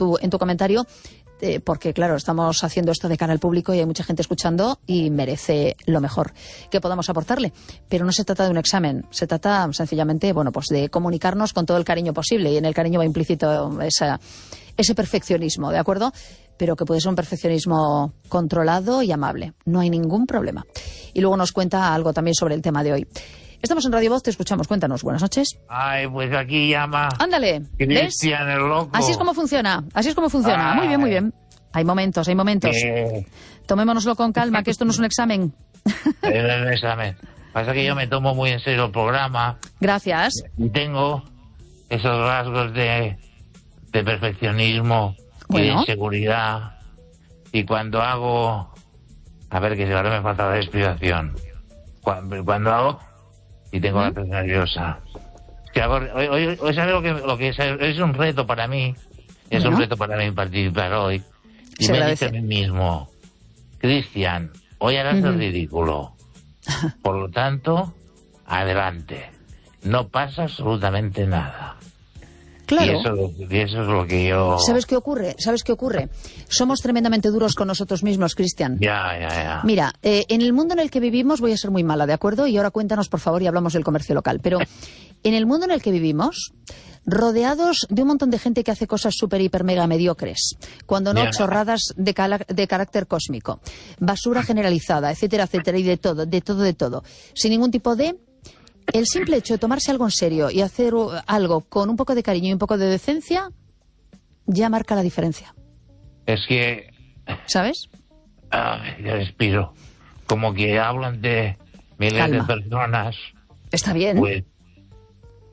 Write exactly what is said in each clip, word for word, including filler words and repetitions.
tu, en tu comentario, eh, porque claro, estamos haciendo esto de cara al público y hay mucha gente escuchando y merece lo mejor que podamos aportarle. Pero no se trata de un examen, se trata sencillamente, bueno, pues de comunicarnos con todo el cariño posible, y en el cariño va implícito esa, ese perfeccionismo, ¿de acuerdo? Pero que puede ser un perfeccionismo controlado y amable. No hay ningún problema. Y luego nos cuenta algo también sobre el tema de hoy. Estamos en Radio Voz, te escuchamos. Cuéntanos. Buenas noches. Ay, pues aquí llama... Ándale. Cristian, el loco. Así es como funciona. Así es como funciona. Ay. Muy bien, muy bien. Hay momentos, hay momentos. Eh... Tomémonoslo con calma, que esto no es un examen. Es un examen. Pasa que yo me tomo muy en serio el programa. Gracias. Y tengo esos rasgos de, de perfeccionismo, bueno, y de inseguridad. Y cuando hago... A ver, que si ahora me falta la explicación. Cuando, cuando hago... Y tengo ¿Mm? la piel nerviosa. Que hago, hoy, hoy, hoy ¿sabes lo que, lo que es? Es un reto para mí. Es bueno. un reto para mí participar hoy. Y Se me dice a mí mismo, Cristian, hoy harás uh-huh. el ridículo. Por lo tanto, adelante. No pasa absolutamente nada. Claro. Y eso, y eso es lo que yo... ¿Sabes qué ocurre? ¿Sabes qué ocurre? Somos tremendamente duros con nosotros mismos, Cristian. Ya, ya, ya. Mira, eh, en el mundo en el que vivimos, voy a ser muy mala, ¿de acuerdo? Y ahora cuéntanos, por favor, y hablamos del comercio local. Pero en el mundo en el que vivimos, rodeados de un montón de gente que hace cosas súper, hiper, mega mediocres, cuando no, chorradas de, cala- de carácter cósmico, basura generalizada, etcétera, etcétera, y de todo, de todo, de todo, sin ningún tipo de... El simple hecho de tomarse algo en serio y hacer algo con un poco de cariño y un poco de decencia ya marca la diferencia. Es que... ¿Sabes? Ay, yo respiro. Como que hablan de miles Calma. de personas. Está bien. Pues,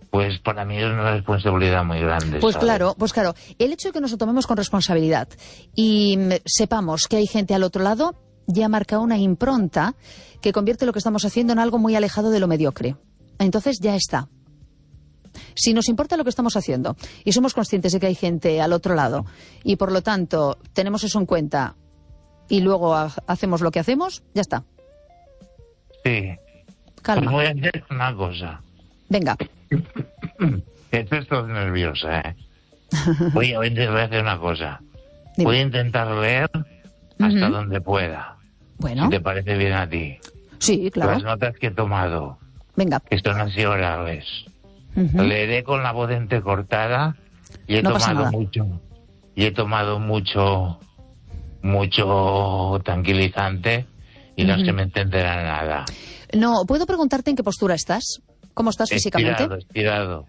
pues para mí es una responsabilidad muy grande. Pues ¿sabes? claro, pues claro. El hecho de que nos lo tomemos con responsabilidad y sepamos que hay gente al otro lado ya marca una impronta que convierte lo que estamos haciendo en algo muy alejado de lo mediocre. Entonces ya está. Si nos importa lo que estamos haciendo y somos conscientes de que hay gente al otro lado y por lo tanto tenemos eso en cuenta y luego ha- hacemos lo que hacemos, ya está. Sí. Calma. Pues voy a hacer una cosa. Venga. Esto estoy nerviosa, ¿eh? Voy a, voy a hacer una cosa. Dime. Voy a intentar leer hasta Uh-huh. donde pueda. Bueno. Si te parece bien a ti. Sí, claro. Las notas que he tomado. Venga. Que son así orales. Uh-huh. Leeré con la voz entrecortada y he No pasa tomado nada. mucho. Y he tomado mucho, mucho tranquilizante y no Ujú. se me entenderá nada. No, ¿puedo preguntarte en qué postura estás? ¿Cómo estás físicamente? Estirado, estirado.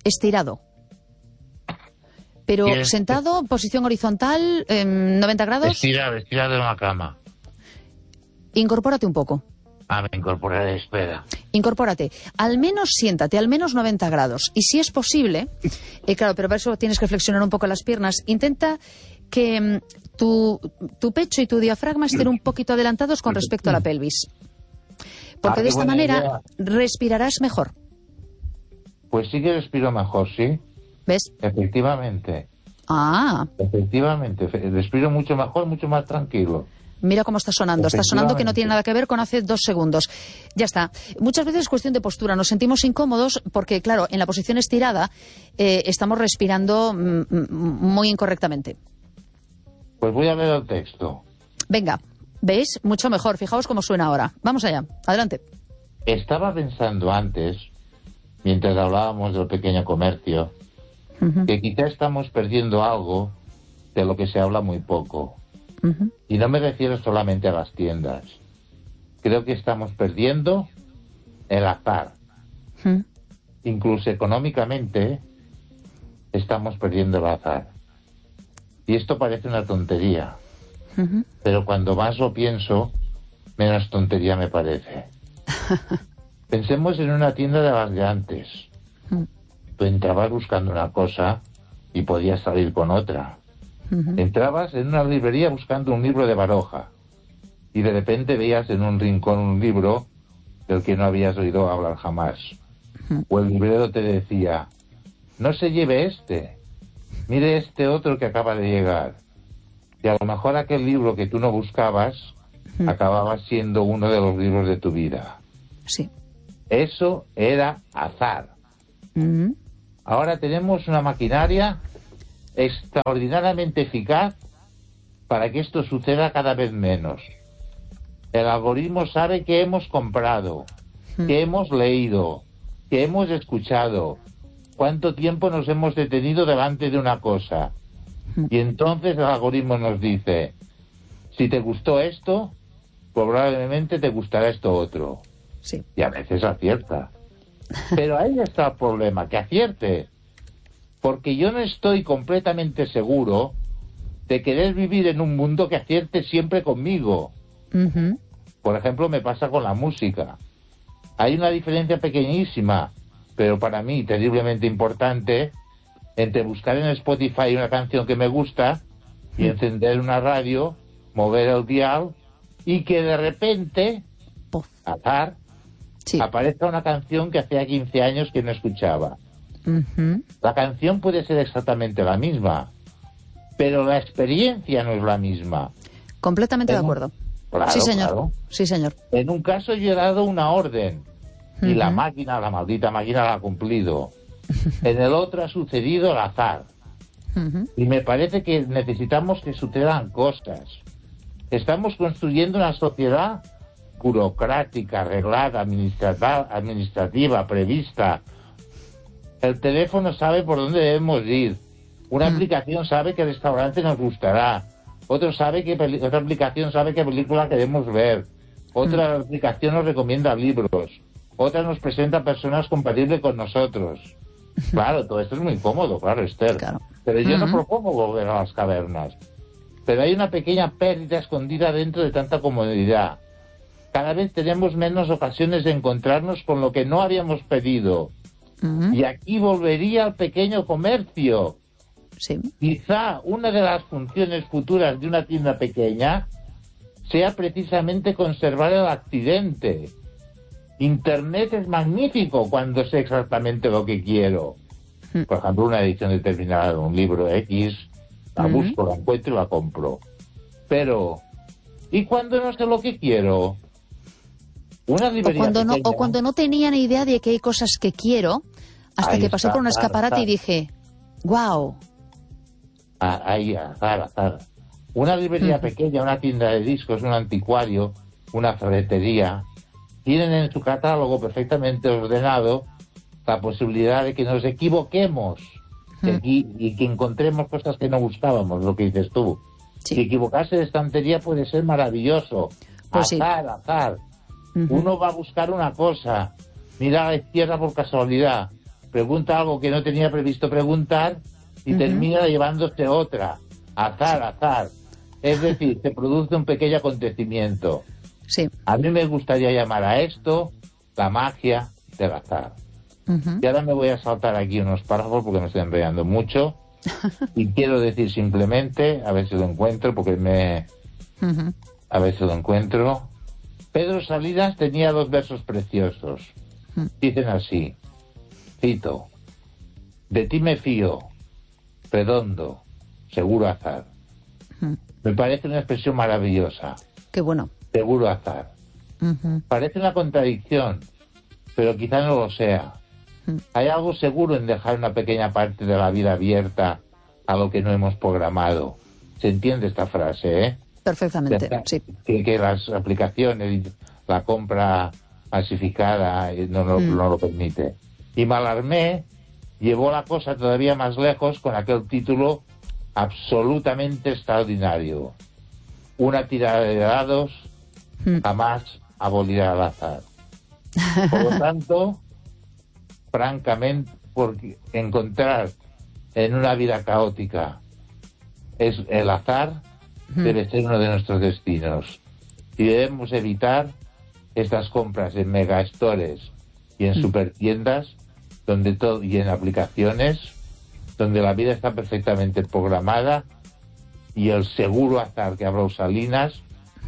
Estirado. Pero ¿Quieres- sentado, posición horizontal, em, noventa grados. Estirado, estirado en la cama. Incorpórate un poco. Ah, me incorporaré, espera. Incorpórate. Al menos siéntate, al menos noventa grados. Y si es posible, eh, claro, pero para eso tienes que flexionar un poco las piernas, intenta que mm, tu, tu pecho y tu diafragma estén un poquito adelantados con respecto a la pelvis. Porque Ah, de qué esta buena manera idea. respirarás mejor. Pues sí que respiro mejor, ¿sí? ¿Ves? Efectivamente. Ah, Efectivamente. Fe- Respiro mucho mejor, mucho más tranquilo. mira cómo está sonando. Está sonando que no tiene nada que ver con hace dos segundos. Ya está. Muchas veces es cuestión de postura. Nos sentimos incómodos porque, claro, en la posición estirada eh, estamos respirando mm, mm, muy incorrectamente. Pues voy a leer el texto. Venga, ¿veis? Mucho mejor. Fijaos cómo suena ahora. Vamos allá. Adelante. Estaba pensando antes, mientras hablábamos del pequeño comercio, Ujú, que quizá estamos perdiendo algo de lo que se habla muy poco. ujú. Y no me refiero solamente a las tiendas. Creo que estamos perdiendo el azar. Ujú. Incluso económicamente estamos perdiendo el azar. Y esto parece una tontería, Ujú. pero cuando más lo pienso, menos tontería me parece. Pensemos en una tienda de las de antes. Ujú. Tú entrabas buscando una cosa y podías salir con otra. Ujú. Entrabas en una librería buscando un libro de Baroja y de repente veías en un rincón un libro del que no habías oído hablar jamás. O el librero te decía, no se lleve este, mire este otro que acaba de llegar. Y a lo mejor aquel libro que tú no buscabas acababa siendo uno de los libros de tu vida. Sí. Eso era azar. Ujú. Ahora tenemos una maquinaria extraordinariamente eficaz para que esto suceda cada vez menos. El algoritmo sabe que hemos comprado, que hemos leído, que hemos escuchado, cuánto tiempo nos hemos detenido delante de una cosa. Y entonces el algoritmo nos dice, si te gustó esto, probablemente te gustará esto otro. Sí. Y a veces acierta. Pero ahí está el problema, que acierte. Porque yo no estoy completamente seguro de querer vivir en un mundo que acierte siempre conmigo. Uh-huh. Por ejemplo, me pasa con la música. Hay una diferencia pequeñísima, pero para mí terriblemente importante, entre buscar en Spotify una canción que me gusta y encender una radio, mover el dial y que de repente, azar, sí, aparezca una canción que hacía quince años que no escuchaba. Uh-huh. La canción puede ser exactamente la misma, pero la experiencia no es la misma. Completamente en de acuerdo. Un... Claro, sí, señor. Claro. Sí, señor. En un caso yo he dado una orden y uh-huh. la máquina, la maldita máquina la ha cumplido. En el otro ha sucedido el azar. Uh-huh. Y me parece que necesitamos que sucedan cosas. Estamos construyendo una sociedad burocrática, arreglada, administrativa, administrativa, prevista. El teléfono sabe por dónde debemos ir. Una uh-huh. aplicación sabe qué restaurante nos gustará. Otro sabe que peli- otra aplicación sabe qué película queremos ver. Otra uh-huh. aplicación nos recomienda libros. Otra nos presenta personas compatibles con nosotros. Claro, todo esto es muy cómodo, claro, Esther. Claro. Pero yo uh-huh. no propongo volver a las cavernas. Pero hay una pequeña pérdida escondida dentro de tanta comodidad. Cada vez tenemos menos ocasiones de encontrarnos con lo que no habíamos pedido. Uh-huh. Y aquí volvería al pequeño comercio. Sí. Quizá una de las funciones futuras de una tienda pequeña sea precisamente conservar el accidente. Internet es magnífico cuando sé exactamente lo que quiero. Por ejemplo, una edición determinada de un libro X, la uh-huh. busco, la encuentro y la compro. Pero, ¿y cuando no sé lo que quiero? Una librería o cuando pequeña, no O cuando no tenía ni idea de que hay cosas que quiero, hasta que pasé está, por un escaparate azar. y dije, wow. Ah, ahí, azar, azar. Una librería uh-huh. pequeña, una tienda de discos, un anticuario, una ferretería, tienen en su catálogo perfectamente ordenado la posibilidad de que nos equivoquemos uh-huh. de aquí, y que encontremos cosas que no buscábamos, lo que dices tú. Sí. Si equivocarse de estantería puede ser maravilloso. Pues azar, sí. azar. Uh-huh. Uno va a buscar una cosa, mira a la izquierda por casualidad, pregunta algo que no tenía previsto preguntar y uh-huh. termina llevándose otra. Azar, sí. azar. Es decir, se produce un pequeño acontecimiento. Sí. A mí me gustaría llamar a esto la magia del azar. Uh-huh. Y ahora me voy a saltar aquí unos párrafos porque me estoy enrollando mucho. Y quiero decir simplemente, a ver si lo encuentro, porque me... Uh-huh. A ver si lo encuentro. Pedro Salinas tenía dos versos preciosos. Uh-huh. Dicen así, cito, de ti me fío, redondo, seguro azar. Uh-huh. Me parece una expresión maravillosa. Qué bueno. Seguro azar. Uh-huh. Parece una contradicción, pero quizá no lo sea. Uh-huh. Hay algo seguro en dejar una pequeña parte de la vida abierta a lo que no hemos programado. ¿Se entiende esta frase, eh? Perfectamente, Deja, sí. Que, que las aplicaciones, la compra masificada no, no, uh-huh. no lo permite. Y Mallarmé llevó la cosa todavía más lejos con aquel título absolutamente extraordinario. Una tirada de dados jamás abolirá el azar. Por lo tanto, francamente, porque encontrar en una vida caótica es el azar, debe ser uno de nuestros destinos. Y debemos evitar estas compras en megastores y en supertiendas, donde todo, y en aplicaciones, donde la vida está perfectamente programada y el seguro azar que habló Salinas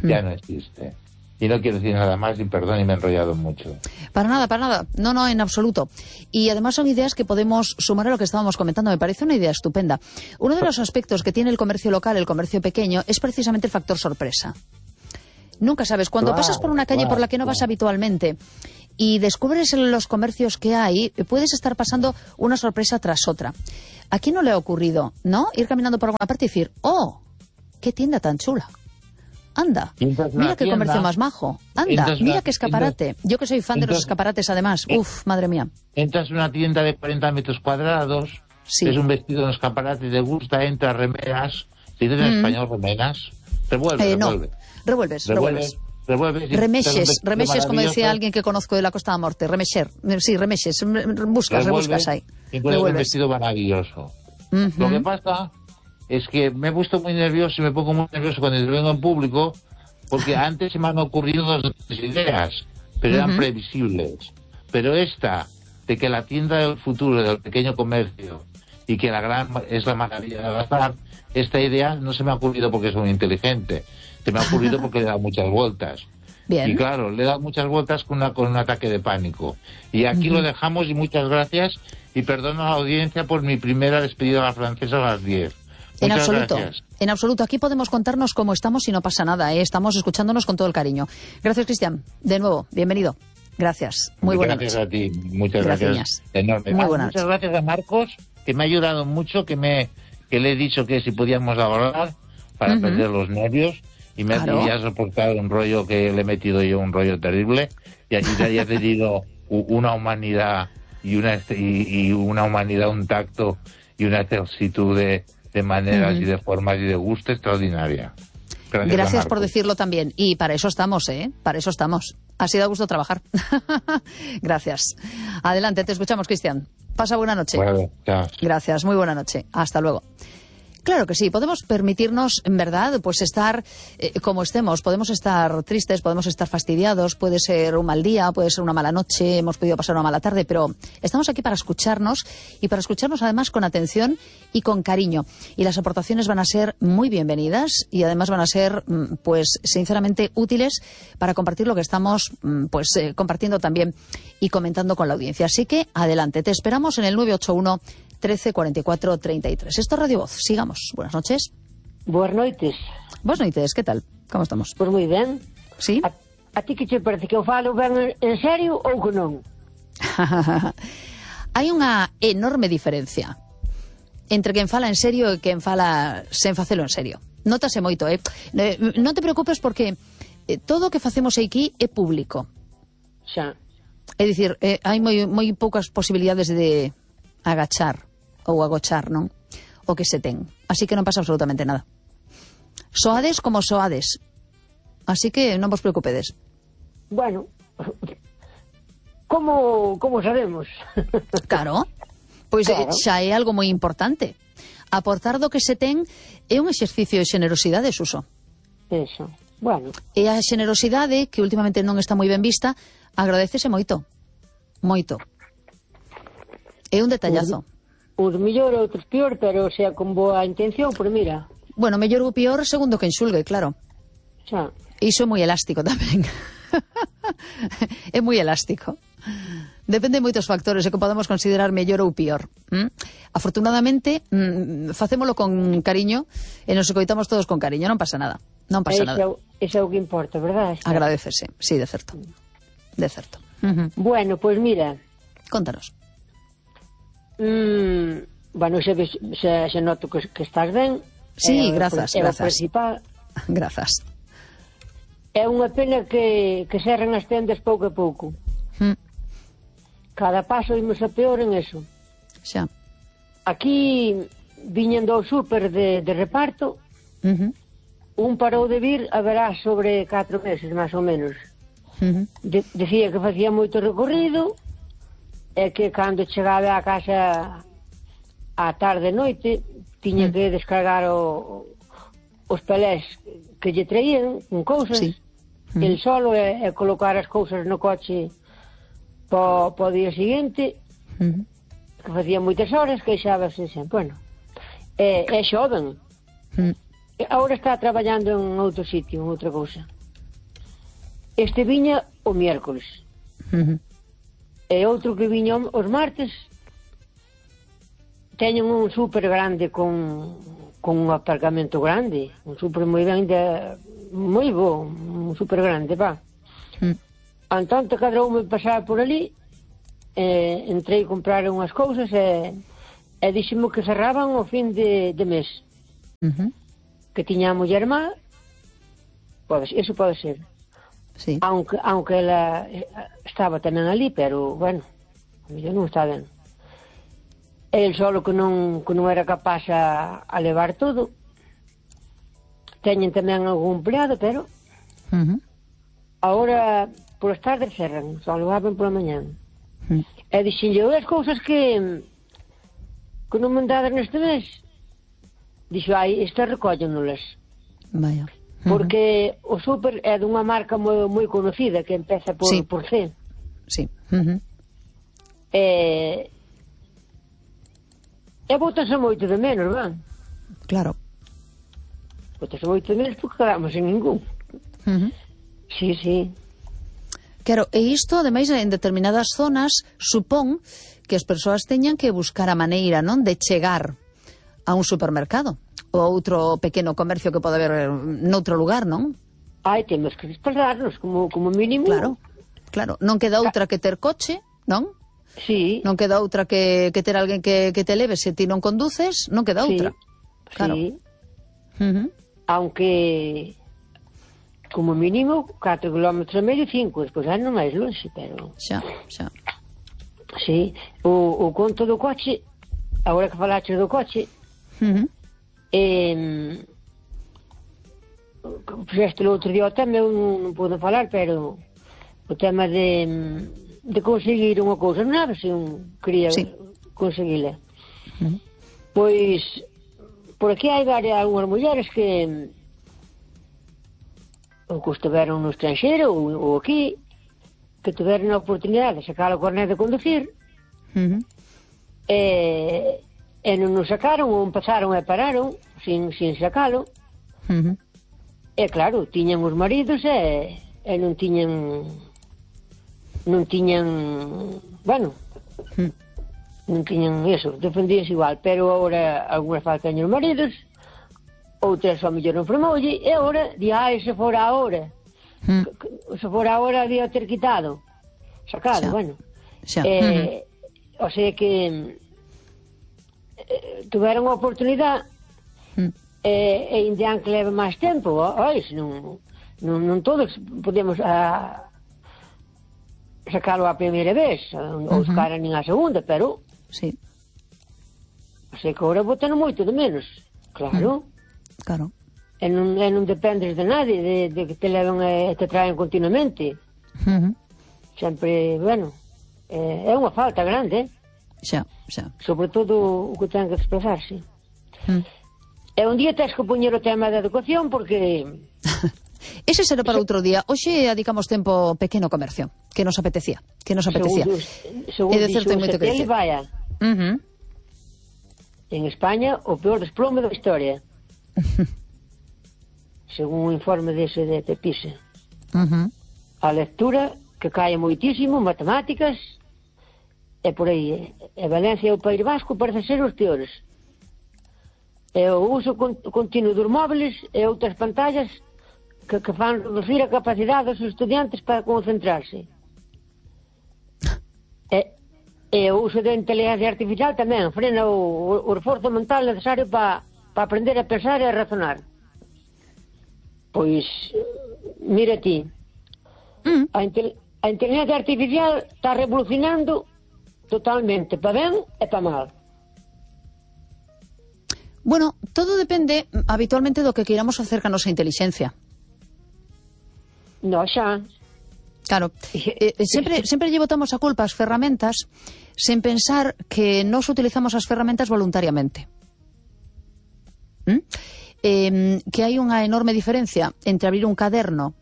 ya no existe. Y no quiero decir nada más, y perdón, y me he enrollado mucho. Para nada, para nada. No, no, en absoluto. Y además son ideas que podemos sumar a lo que estábamos comentando. Me parece una idea estupenda. Uno de los aspectos que tiene el comercio local, el comercio pequeño, es precisamente el factor sorpresa. Nunca sabes. Cuando claro, pasas por una calle claro, por la que no vas claro. habitualmente y descubres en los comercios que hay, puedes estar pasando una sorpresa tras otra. ¿A quién no le ha ocurrido, no? Ir caminando por alguna parte y decir, ¡oh! ¡Qué tienda tan chula! Anda, mira qué tienda, comercio más majo. Anda, mira qué escaparate. Entras, Yo que soy fan entras, de los escaparates, además. Eh, Uf, madre mía. Entras en una tienda de cuarenta metros cuadrados, sí. Es un vestido en escaparate, te gusta, entras, remeras. Si dices en mm. español, remeras. Revuelve, eh, revuelve. No, revuelves, revuelves. revuelves. Remexes, remexes, como decía alguien que conozco de la Costa de la Morte. Remexer, sí, remexes. Buscas, rebuscas ahí. Y entonces un vestido maravilloso. Uh-huh. Lo que pasa es que me he puesto muy nervioso y me pongo muy nervioso cuando vengo en público, porque antes se me han ocurrido dos ideas, pero uh-huh. eran previsibles. Pero esta, de que la tienda del futuro, del pequeño comercio, y que la gran es la maravilla de gastar, esta idea no se me ha ocurrido porque soy muy inteligente, se me ha ocurrido porque le he dado muchas vueltas. Bien. Y claro, le he dado muchas vueltas con, una, con un ataque de pánico. Y aquí uh-huh. lo dejamos, y muchas gracias, y perdono a la audiencia por mi primera despedida a la francesa a las diez. En Muchas absoluto, gracias. En absoluto. Aquí podemos contarnos cómo estamos y no pasa nada, ¿eh? Estamos escuchándonos con todo el cariño. Gracias, Cristian. De nuevo, bienvenido. Gracias. Muy buena noche. Gracias a ti. Muchas gracias. gracias. Enorme. Muy ah, buena muchas noche. gracias a Marcos, que me ha ayudado mucho, que me que le he dicho que si podíamos hablar para uh-huh. perder los nervios, y me claro. ha, ha soportado un rollo que le he metido yo, un rollo terrible, y aquí te haya tenido una humanidad y una y, y una humanidad, un tacto y una excelsitud de de maneras uh-huh. y de formas y de gusto extraordinaria. Gracias, Gracias por decirlo también. Y para eso estamos, ¿eh? Para eso estamos. Ha sido a gusto trabajar. Gracias. Adelante, te escuchamos, Cristian. Pasa buena noche. Bueno, chao. Gracias, muy buena noche. Hasta luego. Claro que sí, podemos permitirnos, en verdad, pues estar eh, como estemos. Podemos estar tristes, podemos estar fastidiados, puede ser un mal día, puede ser una mala noche, hemos podido pasar una mala tarde, pero estamos aquí para escucharnos, y para escucharnos además con atención y con cariño. Y las aportaciones van a ser muy bienvenidas, y además van a ser, pues, sinceramente útiles para compartir lo que estamos, pues, eh, compartiendo también y comentando con la audiencia. Así que, adelante, te esperamos en el nueve ocho uno, trece, cuarenta y cuatro, treinta y tres. Esto es Radio Voz. Sigamos. Buenas noches. Buenas noites. Buenas noites, ¿qué tal? ¿Cómo estamos? Pois moi ben. Sí? A, a ti que che parece que eu falo ben en serio ou que non? Hai unha enorme diferencia entre quen fala en serio e quen fala sen facelo en serio. Nótase moito, eh? Non te preocupes porque todo o que facemos aquí é público. Xa. É dicir, eh, hai moi, moi poucas posibilidades de agachar ou agochar, non? O que se ten. Así que non pasa absolutamente nada. Soades como soades. Así que non vos preocupedes. Bueno, como como sabemos? Claro. Pois claro. Xa é algo moi importante. Aportar do que se ten é un exercicio de xenerosidade, Suso. Eso. Bueno. E a xenerosidade, que últimamente non está moi ben vista, agradecese moito. Moito. É un detallazo. Uns mellor, outros pior, pero sea con boa intención, por mira. Bueno, mellor ou pior segundo quen xulgue, claro. Xa. Iso é moi elástico tamén. É moi elástico. Depende de moitos factores e que podemos considerar mellor ou pior. ¿Mm? Afortunadamente, mm, facémolo con cariño e nos escoitamos todos con cariño, non pasa nada. Non pasa ese, nada. Ese é o que importa, verdad? Agradecese, sí, de certo. De certo. Uh-huh. Bueno, pois pues mira. Contanos. Mm, bueno, se, se, se noto que, que estás ben. Sí, é, grazas, é grazas. Principal. Grazas. É unha pena que, que serren as tendas pouco a pouco. Mm. Cada paso imos a peor en eso. Xa. Aquí viñen do súper de, de reparto. Uh-huh. Un parou de vir, haberá sobre catro meses, máis ou menos. Uh-huh. De, decía que facía moito recorrido, e que cando chegaba a casa á tarde noite tiña que descargar o, os pelés que lle traían con cousas, sí. uh-huh. el solo e, e colocar as cousas no coche po, po día seguinte, uh-huh. que facía moitas horas, queixábase sempre. Bueno, é, é xoven. uh-huh. Agora está traballando en outro sitio, en outra cousa. Este viña o miércoles. Uh-huh. E outro que viña os martes. Teñen un súper grande con, con un aparcamento grande, un súper moi grande, moi bo, un súper grande, va. Mm. Antonte cadroume pasar por ali, eh, entrei a comprar unhas cousas e, e dixemo que cerraban o fin de, de mes. Uh-huh. Que tiña a muller má, pode, eso pode ser. Sí. Aunque, aunque ela estaba tamén ali, pero, bueno, a mellor non está ben. El solo que non, que non era capaz a, a levar todo. Teñen tamén algún empleado, pero Uh-huh. agora por as tardes cerran, só lo abren pola mañán. Uh-huh. E dixenlle, as cousas que que non mandadas neste mes. Dixo, ai, estas recóllennolas. Vaya. Uh-huh. Porque o súper é dunha marca moi, moi conocida, que empeza por, sí. por C. Sí. Uh-huh. E... E bótase moito de menos, van? Claro. Bótase moito de menos porque quedamos en ningún. Uh-huh. Sí, sí. Claro, e isto, ademais, en determinadas zonas, supón que as persoas teñan que buscar a maneira, non, de chegar a un supermercado ou outro pequeno comercio que pode haber noutro lugar, non? Ai, temos que desplazarnos como, como mínimo. Claro, claro. Non queda outra que ter coche, non? Sí. Non queda outra que, que ter alguén que, que te leve se ti non conduces, non queda outra. Sí. Claro. Sí. Uh-huh. Aunque... como mínimo catro kilómetros e medio, cinco, despois é non máis longe, pero... Xa, xa. Sí, o, o conto do coche, agora que falaste do coche, Uh-huh. eh, puxeste o outro día o tema, eu non, non podo falar, pero o tema de, de conseguir unha cousa, non sabe se un quería sí. conseguila. Uh-huh. Pois, por aquí hai varias, algunhas mulleres que... ou que estiveron no estranxeiro ou, ou aquí, que tiveron a oportunidade de sacar o carnet de conducir, Uh-huh. e, e non nos sacaron ou empezaron e pararon sin, sin sacalo. Uh-huh. E claro, tiñan os maridos e, e non tiñan non tiñan bueno Uh-huh. non tiñan eso, defendíanse igual, pero agora algunhas faltan os maridos, outras ao mellor non formoulle, e agora, di, ai, se fora agora, Mm. se fora agora había ter quitado, sacado, Xa. bueno. Xa. Eh, o sea que eh, tuveron a oportunidade, Mm. e, e indian que leve máis tempo, oi, se non, non, non todos podemos a, sacalo a primeira vez, ou os Ujú. caras nin a segunda, pero Sí, o sea que agora botan moito de menos, claro. claro. E non, e non dependes de nadie, de, de que te leven e te traen continuamente. Uh-huh. Sempre, bueno, é, é unha falta grande, eh? Xa, xa. Sobre todo o que ten que desplazarse. Mm. E un día tens que poñer o tema da educación porque... Ese será para outro día. Hoxe adicamos tempo ao pequeno comercio, que nos apetecía, que nos apetecía. Segundo, segundo É de certo, hai moito que dixo dicir. vaya, Uh-huh. en España o peor desplome da historia. Según un informe dese de Pepise. Uh-huh. A lectura que cae moitísimo, matemáticas, e por aí. E Valencia e o País Vasco parece ser os peores. E o uso con, continuo dos móviles e outras pantallas que, que fan reducir a capacidade dos estudiantes para concentrarse. E, e o uso da inteligencia artificial tamén frena o, o, o esforzo mental necesario para pa aprender a pensar e a razonar. Pois, mira ti, Mm. a, intel, a inteligencia artificial está revolucionando totalmente, para ben e para mal. Bueno, todo depende habitualmente do que queiramos facer ca nosa inteligencia. No, xa. Claro, eh, sempre, sempre lle botamos a culpa ás ferramentas sen pensar que nós utilizamos as ferramentas voluntariamente. ¿Mm? Eh, que hai unha enorme diferencia entre abrir un caderno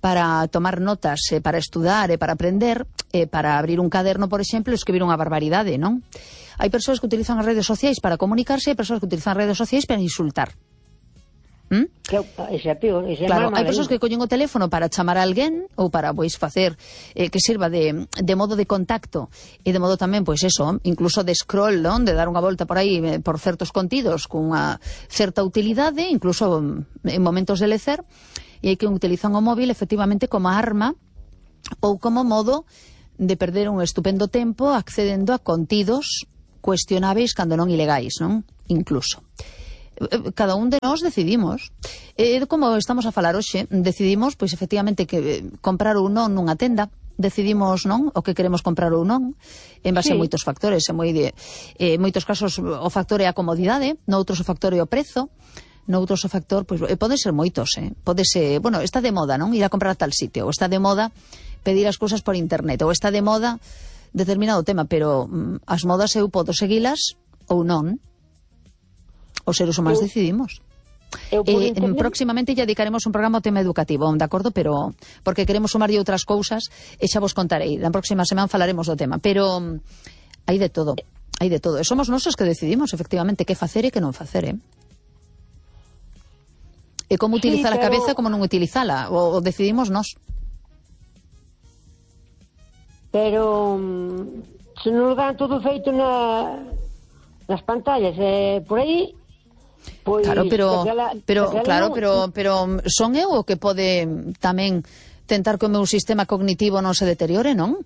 para tomar notas, eh, para estudar e para aprender, e para abrir un caderno, por exemplo, e escribir unha barbaridade, non? Hai persoas que utilizan as redes sociais para comunicarse e hai persoas que utilizan as redes sociais para insultar. ¿Mm? Que, ese é peor, ese Claro, é hai persoas que collen o teléfono para chamar a alguén ou para, pois, facer eh, que sirva de, de modo de contacto e de modo tamén, pois, eso, incluso de scroll, non? De dar unha volta por aí eh, por certos contidos cunha certa utilidade, incluso mm, en momentos de lecer, e hai que utilizan o móvil efectivamente como arma ou como modo de perder un estupendo tempo accedendo a contidos cuestionáveis cando non ilegais, non? Incluso. Cada un de nós decidimos. E como estamos a falar hoxe, decidimos, pois, efectivamente, que comprar ou non nunha tenda. Decidimos, non, o que queremos comprar ou non, en base sí. a moitos factores. En moi de, eh, moitos casos o factor é a comodidade, noutros o factor é o prezo, noutros o factor, pois, pode ser moitos, eh? Pode ser, bueno, está de moda, non? Ir a comprar a tal sitio, ou está de moda pedir as cousas por internet, ou está de moda determinado tema, pero mm, as modas eu podo seguilas ou non. Os seres humanos eu, decidimos. Eu eh, internet... Próximamente ya dedicaremos un programa ao tema educativo, de acordo? Pero porque queremos sumarlle outras cousas e xa vos contarei. Na próxima semana falaremos do tema, pero um, hai de todo, hai de todo. E somos nosos que decidimos efectivamente que facer e que non facer, eh? E como utilizar sí, pero... a cabeza, como non utilizala, o, o decidimos nós. Pero um, se non dan todo feito na nas pantallas, eh, por aí. Pois, claro, pero, daquela, pero, daquela claro, non... pero, pero son eu o que pode tamén tentar que o meu sistema cognitivo non se deteriore, non?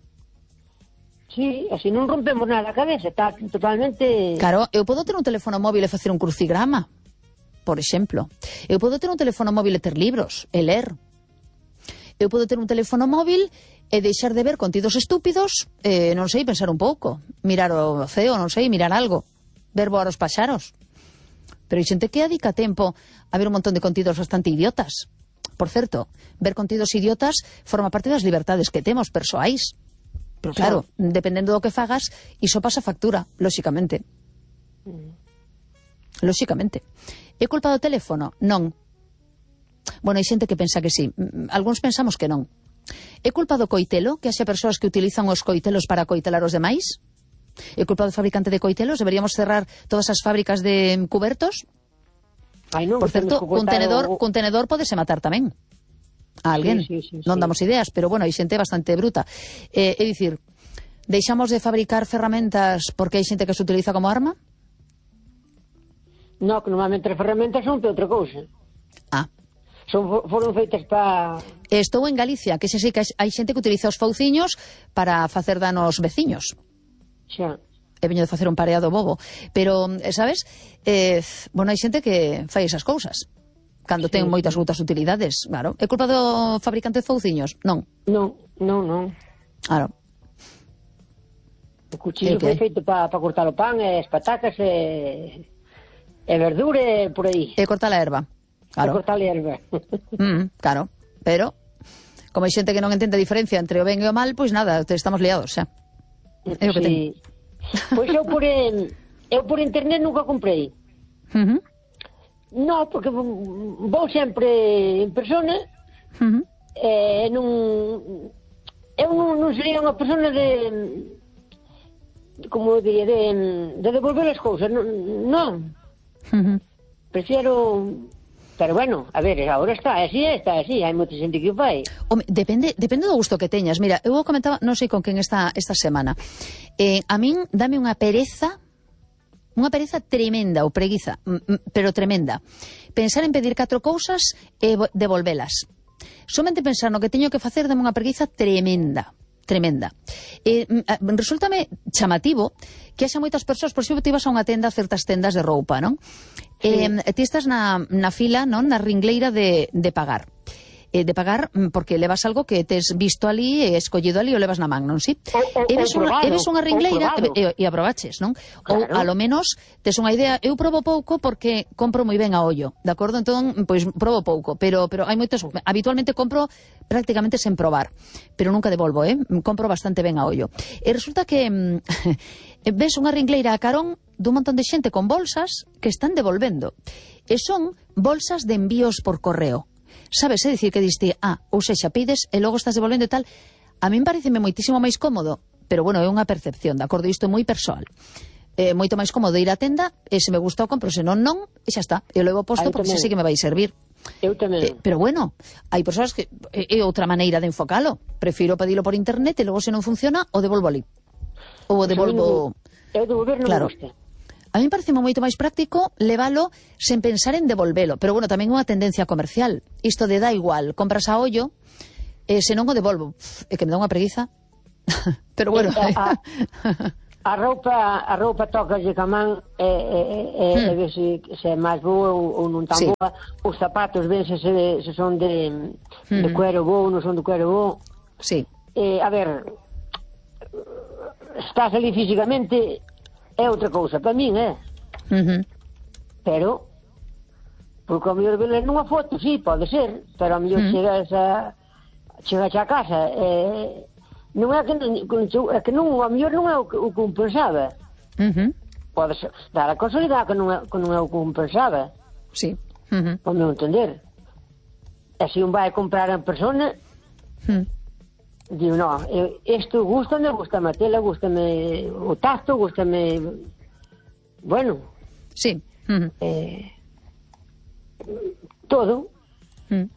Sí, así non rompemos nada a cabeza, está totalmente... Claro, eu podo ter un teléfono móvil e facer un crucigrama, por exemplo. Eu podo ter un teléfono móvil e ter libros, e ler. Eu podo ter un teléfono móvil e deixar de ver contidos estúpidos, e non sei, pensar un pouco, mirar o ceo, non sei, mirar algo, ver voar os paxaros. Pero hai xente que adica tempo a ver un montón de contidos bastante idiotas. Por certo, ver contidos idiotas forma parte das libertades que temos persoais. Pero claro, sí. dependendo do que fagas, iso pasa factura, lóxicamente. Mm. Lóxicamente. É culpa do teléfono? Non. Bueno, hai xente que pensa que sí. Algúns pensamos que non. É culpa do coitelo, que haxa persoas que utilizan os coitelos para coitelar os demais? É culpa do fabricante de coitelos? Deberíamos cerrar todas as fábricas de cubertos? Ai, non, por certo, un tenedor, o... un tenedor podese matar tamén a alguén. Sí, sí, sí, non damos ideas, pero bueno, hai xente bastante bruta. Eh, é dicir, deixamos de fabricar ferramentas porque hai xente que se utiliza como arma? Non, que normalmente as ferramentas son para outra cousa. Ah. Son, foron feitas para... Estou en Galicia, que xe sei que hai xente que utiliza os fauciños para facer danos veciños. Xa. He veño de facer un pareado bobo. Pero, sabes, eh, bueno, hai xente que fai esas cousas cando sí, ten moitas outras utilidades, claro. É culpa do fabricante de fauciños? Non. Non, non, non. Claro. O cuchillo foi feito para pa cortar o pan, e as patacas, e, e verdura, por aí. E cortar a erva. Claro. E cortar a erva. Mm, claro, pero como hai xente que non entende a diferencia entre o ben e o mal, pois nada, estamos liados, xa. É o que sí. Pois eu por, en, eu por internet nunca comprei. Uh -huh. Non, porque vou sempre en persona. Uh -huh. E non... Eu non, non sería unha persona de... Como diría, de, de devolver as cousas. Non. non. Uh -huh. Prefiero... Pero bueno, a ver, agora está así, está así, hai moita xente que o fai. Home, depende, depende do gusto que teñas. Mira, eu comentaba, non sei con quen esta, esta semana. Eh, a min dame unha pereza, unha pereza tremenda, ou preguiza, pero tremenda. Pensar en pedir catro cousas e devolvelas. Somente pensar no que teño que facer dame unha preguiza tremenda. Tremenda. Eh, resultame chamativo que haxa moitas persoas, por exemplo, te ibas a unha tenda, certas tendas de roupa, non? Sí. Eh, ti estás na, na fila, non? Na ringleira de, de pagar. Eh, de pagar porque levas algo que tes visto ali e escollido ali o levas na man, non? Si? O, o, e ves unha, probado, e ves unha ringleira e, e, e aprobaches, non? Claro. Ou, a lo menos, tes unha idea. Eu probo pouco porque compro moi ben a ollo, de acordo? Entón, pois, probo pouco, pero, pero hai moitos... Habitualmente compro prácticamente sen probar, pero nunca devolvo, eh? Compro bastante ben a ollo. E resulta que ves unha ringleira a carón dun montón de xente con bolsas que están devolvendo. E son bolsas de envíos por correo. Sabes, é dicir, que diste, ah, ou sexa, pides e logo estás devolvendo e tal. A min pareceme moitísimo máis cómodo, pero bueno, é unha percepción, de acordo? Isto é moi persoal. É moito máis cómodo ir á tenda e se me gusta o compro, se non, non, e xa está. Eu levo posto porque xa sei que me vai servir. Eu tamén. Eh, pero bueno, hai persoas que é outra maneira de enfocalo. Prefiro pedilo por internet e logo se non funciona, o devolvo ali. Ou o devolvo... Eu devolver non claro. me gusta. A mí parece moito máis práctico levalo sen pensar en devolvelo. Pero bueno, tamén unha tendencia comercial. Isto de dá igual, compras a ollo, E se non o devolvo, é que me dá unha preguiza. Pero bueno. A, a roupa a roupa toca de camán e, e, e, hmm. e ver se, se é máis boa ou, ou non tan sí. boa. Os zapatos ven se, se, se son de, hmm. de cuero bo ou non son de cuero bo. Sí. Eh, a ver, estás ali físicamente é outra cousa, para min, eh? Uh-huh. Pero, porque ao mellor veles nunha foto, sí, pode ser, pero ao mellor uh-huh. chegas a chegas a casa, eh, non é que, é que non, ao mellor non é o que, o que un pensaba. Uh-huh. Pode ser, dar a casualidade que non é, que non é o que un pensaba. Sí. Uh-huh. Ao meu entender. E se un vai a comprar en persona, uh-huh. digo, no, isto gústame, gústame a tela, gústame o tacto, gústame, bueno, sí. Uh-huh. eh, todo. Uh-huh.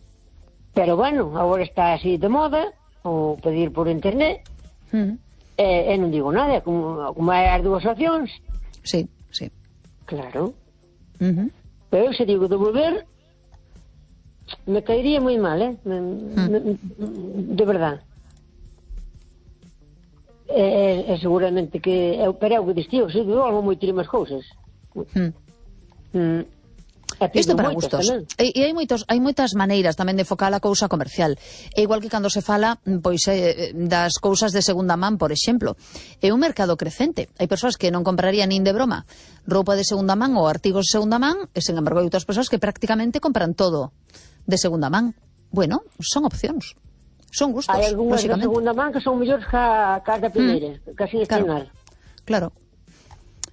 Pero bueno, agora está así de moda, o pedir por internet, uh-huh. e, e non digo nada, como, como hai as dúas opcións. Sí, sí. Claro. Uh-huh. Pero se digo devolver, me caería moi mal, eh? Me, uh-huh. me, de verdad. E, e seguramente que eu, pero é o que distío, se devolvo moitísimas cousas. Uh-huh. Mm. Isto para gustos. E, e hai moitos, hai moitas maneiras tamén de focar a cousa comercial. É igual que cando se fala pois eh, das cousas de segunda man, por exemplo. É un mercado crecente. Hai persoas que non comprarían nin de broma roupa de segunda man ou artigos de segunda man, e, sen embargo, hai outras persoas que prácticamente compran todo de segunda man. Bueno, son opcións. Son gustos, hai algunhas de segunda man que son mellores que a, que a da primeira, mm. casi claro. Claro.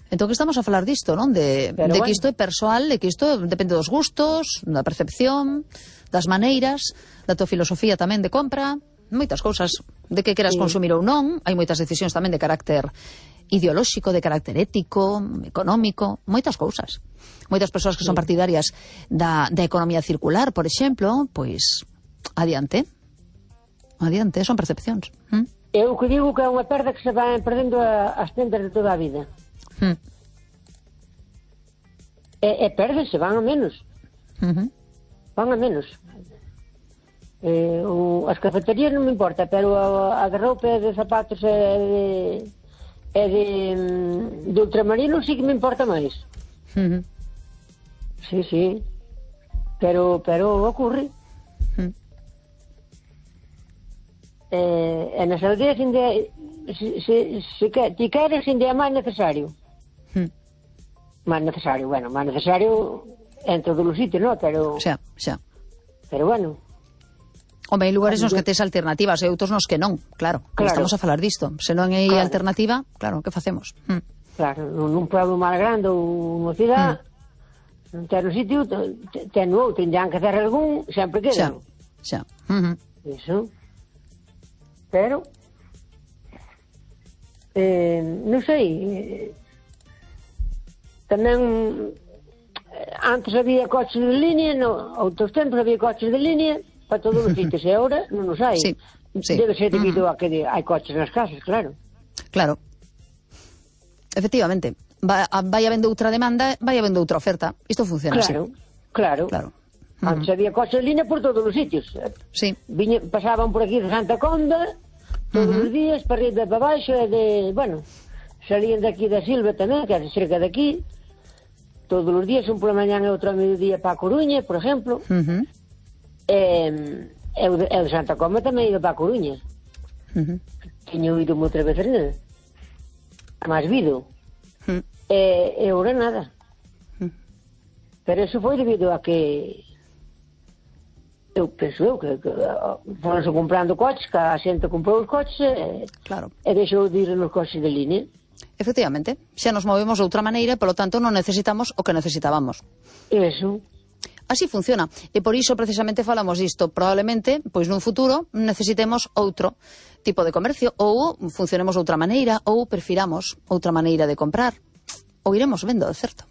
Entón que estamos a falar disto, non? De, de bueno. que isto é persoal, de que isto depende dos gustos, da percepción, das maneiras, da tua filosofía tamén de compra, moitas cousas, de que queras sí. consumir ou non. Hai moitas decisións tamén de carácter ideolóxico, de carácter ético, económico, moitas cousas. Moitas persoas que son partidarias da, da economía circular, por exemplo, pois, adiante. Adiante, son percepcións. ¿Mm? Eu que digo que é unha perda que se van perdendo a, as tendas de toda a vida. Hmm. E, e perdese, van a menos. Uh-huh. Van a menos. Eh, o, as cafeterías non me importa, pero a, a de roupa e de zapatos e de, e de, de ultramarino sí que me importa máis. Uh-huh. Sí, sí. Pero, pero ocurre. Uh-huh. Eh, e nas aldeas inde, se, se, se que, ti queres inde é máis necesario. Hmm. Máis necesario, bueno, máis necesario en todos os sitios, non? Pero, xa, xa. Pero bueno. Home, hai lugares nos que tes alternativas e outros nos que non, claro, claro. Estamos a falar disto. Se non hai claro. alternativa, claro, que facemos? Hmm. Claro, nun pueblo máis grande ou unha cidade, hmm. non ten un sitio, ten outro, tendrán que hacer algún, sempre quedan. Xa, xa. Uh-huh. Iso. Pero, eh, non sei, eh, tamén antes había coches de línea, no, outros tempos había coches de línea para todos os sitios, e agora non os hai. Sí, sí. Debe ser debido uh-huh. a que hai coches nas casas, claro. Claro. Efectivamente. Va, vai habendo outra demanda, vai habendo outra oferta. Isto funciona claro, así. Claro, claro. Uh-huh. Antes había coches de línea por todos os sitios. Sí. Viña, pasaban por aquí de Santa Conda todos uh-huh. os días, para arriba e para baixo, e de, bueno, salían de aquí da Silva tamén, que é cerca de aquí, todos os días, un por la mañana e outro a mediodía para a Coruña, por exemplo. Uh-huh. E, e, o de, e o de Santa Coma tamén iba para a Coruña. Uh-huh. Tiño ido moitas veces nel. Mas vido. Uh-huh. E, e ora nada. Uh-huh. Pero eso foi debido a que eu penso eu que, que foronse comprando coches, que a xente comprou os coches e, claro. e deixou de ir nos coches de línea. Efectivamente, xa nos movemos de outra maneira, polo tanto non necesitamos o que necesitábamos. Eso. Así funciona, e por iso precisamente falamos disto. Probablemente, pois nun futuro, necesitemos outro tipo de comercio, ou funcionemos de outra maneira, ou prefiramos outra maneira de comprar, ou iremos vendo, de certo.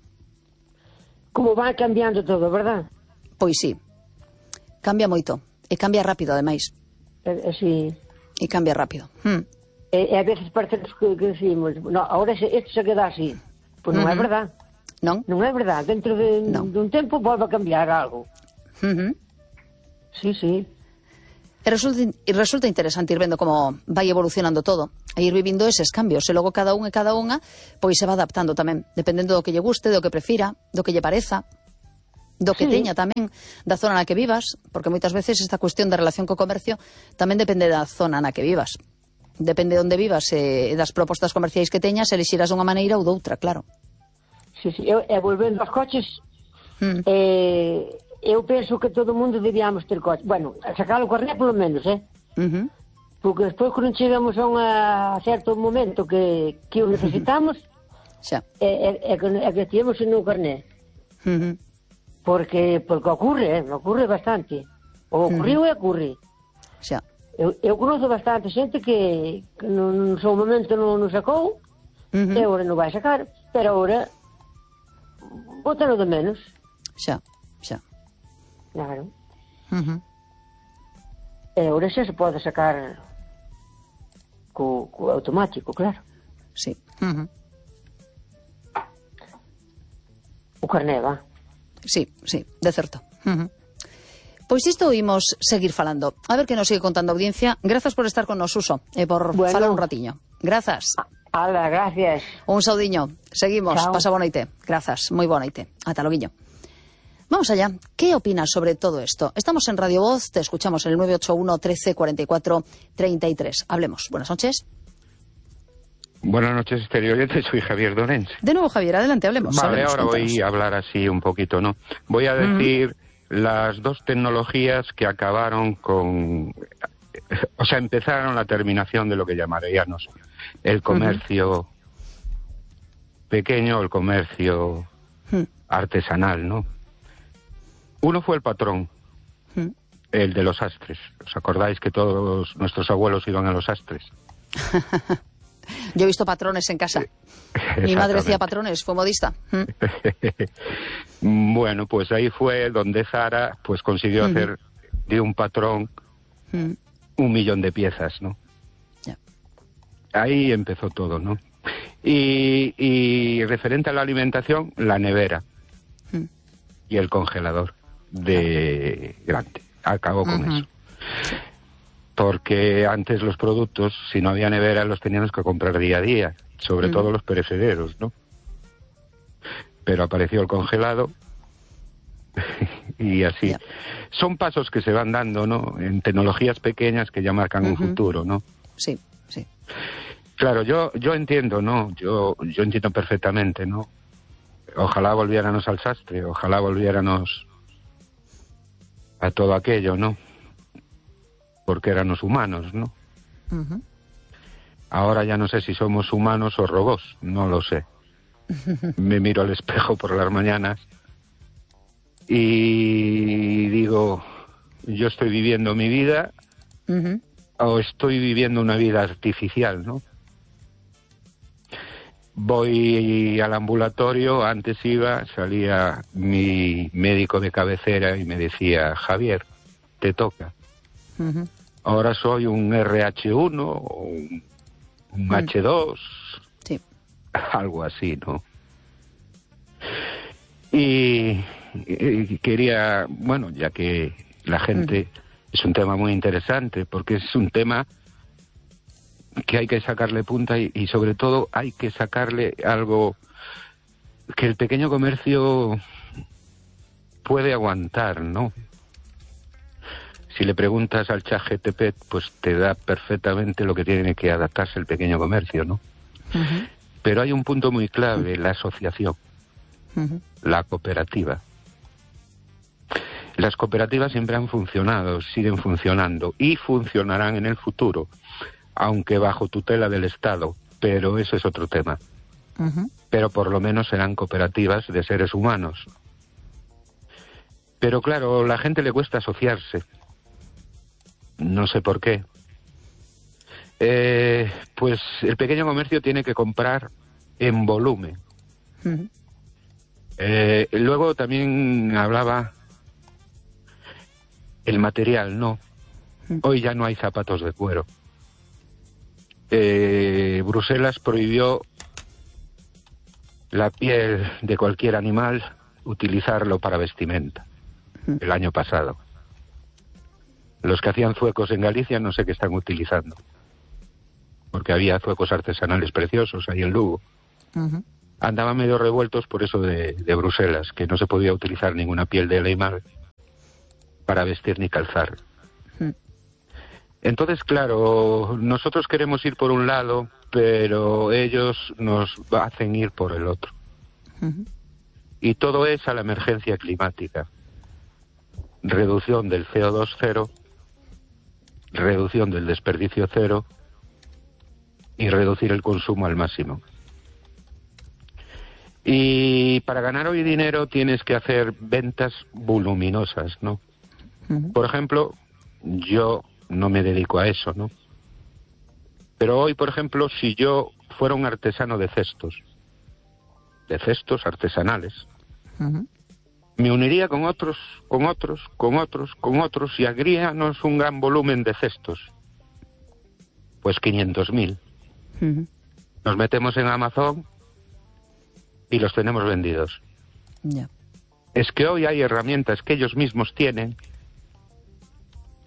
Como vai cambiando todo, verdad? Pois sí, cambia moito, e cambia rápido, ademais. E, sí. E cambia rápido. Hmm. E, e a veces parece que, que decimos, no, ahora isto se queda así. Pois non uh-huh. é verdad. Non? Non é verdad. Dentro de, non. dun tempo volve a cambiar algo. Uh-huh. Sí, sí. E resulta, e resulta interesante ir vendo como vai evolucionando todo, e ir vivindo eses cambios, e logo cada un e cada unha pois se va adaptando tamén, dependendo do que lle guste, do que prefira, do que lle pareza, do que Sí. teña tamén, da zona na que vivas, porque moitas veces esta cuestión da relación co comercio tamén depende da zona na que vivas. Depende de onde vivas e das propostas comerciais que teñas, elixirás dunha maneira ou doutra, claro. Sí, sí. Eu, e volvendo aos coches, Mm. eh, eu penso que todo o mundo debíamos ter coche. Bueno, a sacar o carné polo menos, eh? Uh-huh. Porque despois, quando chegamos a, unha, a certo momento que, que o necesitamos, Xa. é, é, é, que, é que tivemos en o carné. Uh-huh. Porque, porque ocurre, eh? Me ocurre bastante. O ocurriu e ocurre. Xa. Eu, eu conozco bastante xente que, que no, no seu momento non non sacou, Uh-huh. e agora non vai sacar, pero agora bótalo de menos. Xa. Xa. Claro. Uh-huh. E agora xa se pode sacar co, co automático, claro. Sí. Uh-huh. O carné, va. Sí, sí, de certo. Uh-huh. Pois isto imos seguir falando. A ver que nos sigue contando a audiencia. Grazas por estar con nos, Suso, e por Bueno. falar un ratiño. Grazas. Ala, gracias. Un saudiño. Seguimos. Chao. Pasa boa noite. Grazas. Moi boa noite. Ata loguiño. Vamos allá. ¿Qué opinas sobre todo esto? Estamos en Radio Voz, te escuchamos en el nueve ocho uno, trece, cuarenta y cuatro, treinta y tres. Hablemos. Buenas noches. Buenas noches, exteriores. Soy Javier Dorense. De nuevo, Javier, adelante, hablemos. Vale, hablemos, ahora cuéntanos. voy a hablar así un poquito, ¿no? Voy a decir las dos tecnologías que acabaron con... O sea, empezaron la terminación de lo que llamaríamos el comercio pequeño, el comercio Ujú. artesanal, ¿no? Uno fue el patrón, Ujú. el de los sastres. ¿Os acordáis que todos nuestros abuelos iban a los sastres? Yo he visto patrones en casa. Mi madre hacía patrones, fue modista. ¿Mm? Bueno, pues ahí fue donde Zara pues consiguió Ujú. hacer de un patrón ¿Mm? un millón de piezas, ¿no? Ya. Ahí empezó todo, ¿no? Y, y referente a la alimentación, la nevera ¿Mm? y el congelador de grande. Acabó con Ujú. eso. Porque antes los productos, si no había nevera, los teníamos que comprar día a día, sobre Ujú. todo los perecederos, ¿no? Pero apareció el congelado y así. Ya. Son pasos que se van dando, ¿no? En tecnologías pequeñas que ya marcan un Ujú. futuro, ¿no? Sí, sí. Claro, yo yo entiendo, ¿no? Yo yo entiendo perfectamente, ¿no? Ojalá volviéramos al sastre, ojalá volviéramos a todo aquello, ¿no? Porque éramos humanos, ¿no? Ujú. Ahora ya no sé si somos humanos o robots, no lo sé. Me miro al espejo por las mañanas y digo, yo estoy viviendo mi vida Ujú. o estoy viviendo una vida artificial, ¿no? Voy al ambulatorio, antes iba, salía mi médico de cabecera y me decía, Javier, te toca. Ujú. Ahora soy un erre hache uno o un, un Mm. hache dos, Sí. algo así, ¿no? Y, y quería, bueno, ya que la gente es un tema muy interesante, porque es un tema que hay que sacarle punta y, y sobre todo hay que sacarle algo que el pequeño comercio puede aguantar, ¿no? Si le preguntas al chat G T P, pues te da perfectamente lo que tiene que adaptarse el pequeño comercio, ¿no? Ujú. Pero hay un punto muy clave, la asociación, Ujú. la cooperativa. Las cooperativas siempre han funcionado, siguen funcionando y funcionarán en el futuro, aunque bajo tutela del Estado, pero eso es otro tema. Ujú. Pero por lo menos serán cooperativas de seres humanos. Pero claro, a la gente le cuesta asociarse. No sé por qué. Eh, pues el pequeño comercio tiene que comprar en volumen. Ujú. Eh, luego también hablaba el material, ¿no? Hoy ya no hay zapatos de cuero. Eh, Bruselas prohibió la piel de cualquier animal utilizarlo para vestimenta el año pasado. Los que hacían zuecos en Galicia no sé qué están utilizando. Porque había zuecos artesanales preciosos ahí en Lugo. Uh-huh. Andaban medio revueltos por eso de, de Bruselas, que no se podía utilizar ninguna piel de animal para vestir ni calzar. Uh-huh. Entonces, claro, nosotros queremos ir por un lado, pero ellos nos hacen ir por el otro. Uh-huh. Y todo es a la emergencia climática. Reducción del C O dos cero, reducción del desperdicio cero y reducir el consumo al máximo. Y para ganar hoy dinero tienes que hacer ventas voluminosas, ¿no? Uh-huh. Por ejemplo, yo no me dedico a eso, ¿no? Pero hoy, por ejemplo, si yo fuera un artesano de cestos, de cestos artesanales, uh-huh, me uniría con otros, con otros, con otros, con otros y haríamos un gran volumen de cestos. Pues quinientos mil. Uh-huh. Nos metemos en Amazon y los tenemos vendidos. Yeah. Es que hoy hay herramientas que ellos mismos tienen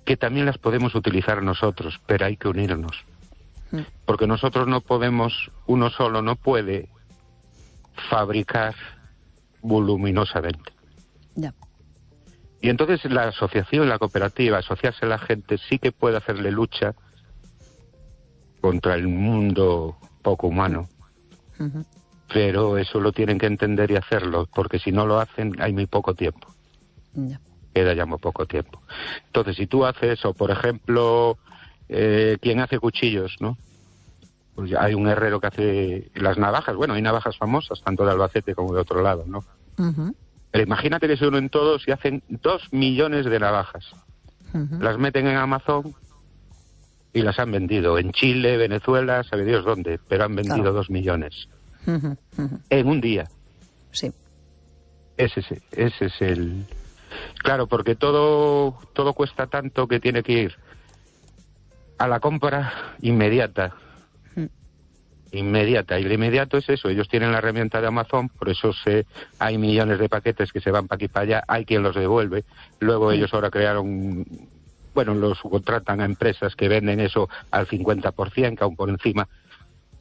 que también las podemos utilizar nosotros, pero hay que unirnos. Uh-huh. Porque nosotros no podemos, uno solo no puede fabricar voluminosamente. Yeah. Y entonces la asociación, la cooperativa, asociarse a la gente sí que puede hacerle lucha contra el mundo poco humano. Uh-huh. Pero eso lo tienen que entender y hacerlo, porque si no lo hacen hay muy poco tiempo. Yeah. Queda ya muy poco tiempo. Entonces, si tú haces, o por ejemplo, eh, quien hace cuchillos, ¿no? Pues hay un herrero que hace las navajas. Bueno, hay navajas famosas, tanto de Albacete como de otro lado, ¿no? Uh-huh. Pero imagínate que se unen todos y hacen dos millones de navajas. Uh-huh. Las meten en Amazon y las han vendido. En Chile, Venezuela, sabe Dios dónde, pero han vendido claro. dos millones. Uh-huh. Uh-huh. En un día. Sí. Ese es, ese es el... Claro, porque todo, todo cuesta tanto que tiene que ir a la compra inmediata. Inmediata, y lo inmediato es eso, ellos tienen la herramienta de Amazon, por eso se, hay millones de paquetes que se van para aquí y para allá, hay quien los devuelve, luego sí. Ellos ahora crearon, bueno, los subcontratan a empresas que venden eso al cincuenta por ciento, que aún por encima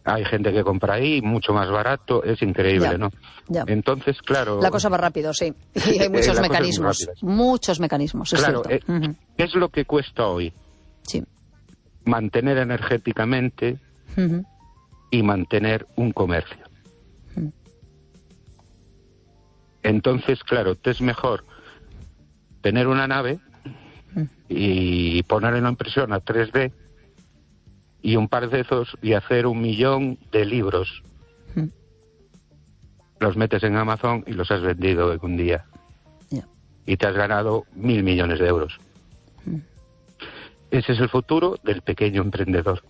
hay gente que compra ahí, mucho más barato, es increíble, ya, ¿no? Ya. Entonces, claro... La cosa va rápido, sí, y hay muchos mecanismos, muchos mecanismos, es claro, cierto. Eh, uh-huh. ¿Qué es lo que cuesta hoy? Sí. Mantener energéticamente... Uh-huh. Y mantener un comercio. Mm. Entonces, claro, te es mejor tener una nave mm. y ponerla en impresión a tres D y un par de esos y hacer un millón de libros. Mm. Los metes en Amazon y los has vendido en un día. Yeah. Y te has ganado mil millones de euros. Mm. Ese es el futuro del pequeño emprendedor.